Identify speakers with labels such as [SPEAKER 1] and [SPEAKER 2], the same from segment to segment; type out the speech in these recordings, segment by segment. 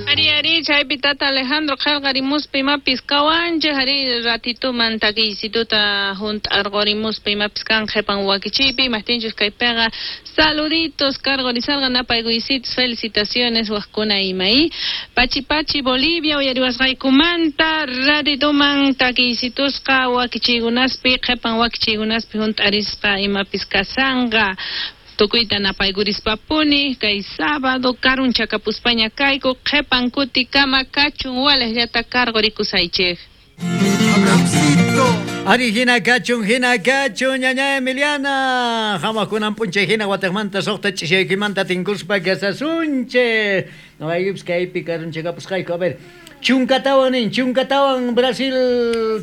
[SPEAKER 1] Ari, ari, chaypi tata Alejandro qhelqarimuspa imapis kawanchej, ari, ratituman takiysituta junt'arqorimuspa imapis kan qhepan wakichiypi, imajtinchus kaypiqa saluditos karqorisarqa napaykuysitos, felicitaciones wajkuna ima i. Pachi Pachi Bolivia uyariwasqaykumanta ratituman takiysitusqa wakichiykunaspi qhepan wakichiykunaspi junt'arisqa imapis kasanqa. Tukuyta napaykurispa-puni kay sábado karunchakapuspaña kayku qhepan kutikama kachun walejllata karqorikusaychej.
[SPEAKER 2] Ari hina kachun, hina kachun, ñaña Emiliana. Hamuqkunan p'unchay hina watejmanta suqta ch'ishaykimanta tinkuspa kasasunchej. Noqaykupis kaypi karunchakapusqayku. A ver, chunkatawan nin, chunkatawan Brasil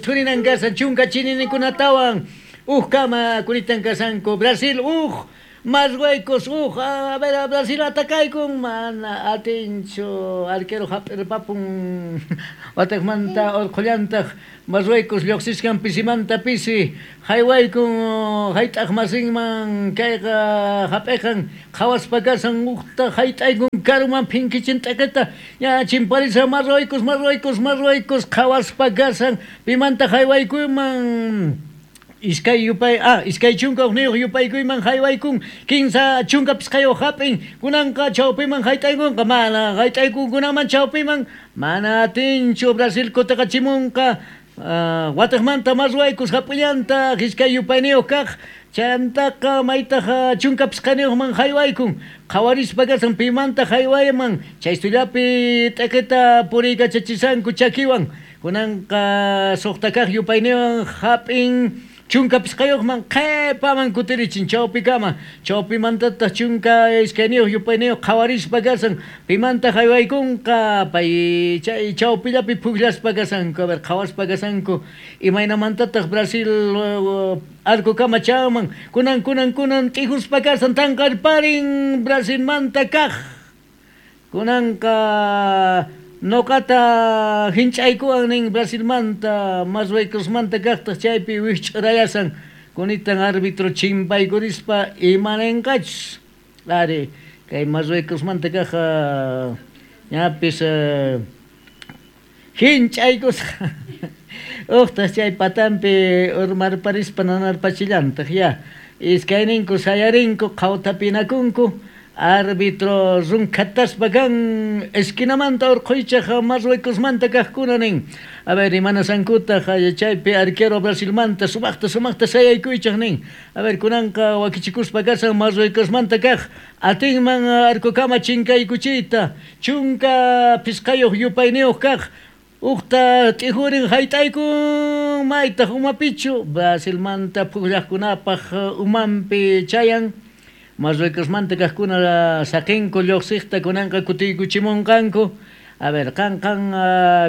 [SPEAKER 2] thurinan kasan, chunka chininikunatawan. Uj kama kuritan kasanku. Brasil uj, Marruecos uj. A ver, Brasil atakaykun, mana atinchu. Arquero hap'irpapun. Watejmanta orqhullantaq Marruecos lloqsisqan pisimanta pisi. Haywaykun hayt'aq masinman kayqa hap'iqan qhawaspa kasan ujta hayt'aykun karuman phinkichin t'eqeta ña chimparisan Marruecos, Marruecos, Marruecos qhawaspa kasan pimanta haywaykunman iskay yupay 21 yupaykuyman haywaykun 35 hap'in kunanqa chawpiman hayt'aykunqa mana hayt'aykunkunaman chawpiman mana atinchu Brasil kutiqachimunqa watejmanta Marruecos hap'illantaq iskay yupayniyuq kaq chantaqa maytaq 15niyuqman haywaykun qhawarispa kasan pimanta haywayman chaystullapi t'eqeta puriykachachishanku chakiwan kunanqa suqta kaq yupayniyuqwan hap'in 15yuqman qhepaman kutirichin chawpikama chawpimantataq 12 yupayniyuq qhawarispa kasan pimanta haywaykunqa pay chay chawpillapi pukllaspa kasanku a ver qhawaspa kasanku imaynamantataq Brasil arcokama chanman kunan kunan kunan t'ijuspa kasan tanqarparin Brasilmanta kaq kunanqa noqata hinch'aykuwan nin Brasilmanta Marruecosmanta kaqtaq chaypi wikch'urayasan kunitan árbitro chimpaykurispa imanenqachus ari kay Marruecosmanta kaq ñapis hinch'aykusqa uqtaq chay patampi urmarparispa nanarpachillantaq ya iskayninku sayarinku qhawtapinakunku árbitro runkhataspa kan esquinamanta urqhuychaq Marruecosmanta kaqkuna nin a ver imanasankutaq chaypi arquero Brasilmanta sumaqta sumaqta sayaykuychaq nin a ver kunanqa wakichikuspa kasan Marruecosmanta kaq atinman arcokama chinkaykuchiyta 15 yupayniyuq kaq uqta t'ijurin hayt'aykun maytaq umapichu Brasilmanta pukllaqkunapaq umanpi chayan Marruecosmanta kaqkuna saqinku lluqsiqta kunanqa kutiykuchimunqanku a ver qan qan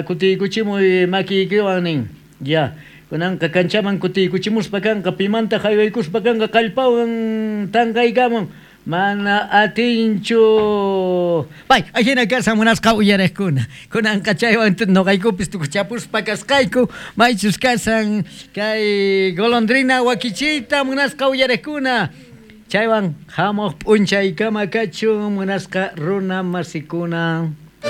[SPEAKER 2] kutiykuchimuy makiykiwan nin ya kunanqa kanchaman kutiykuchimuspa kanqa pimanta haywaykuspa kanqa kallpawan tanqaykamun mana atinchu pay ajina kasan munasqa uyariqkuna kunanqa chaywan noqaykupis tukuchapuspa kasqayku maychus kasan kay golondrina wakichiyta munasqa uyariqkuna chaywan hamuq p'unchaykama kachun munasqa runa masikuna.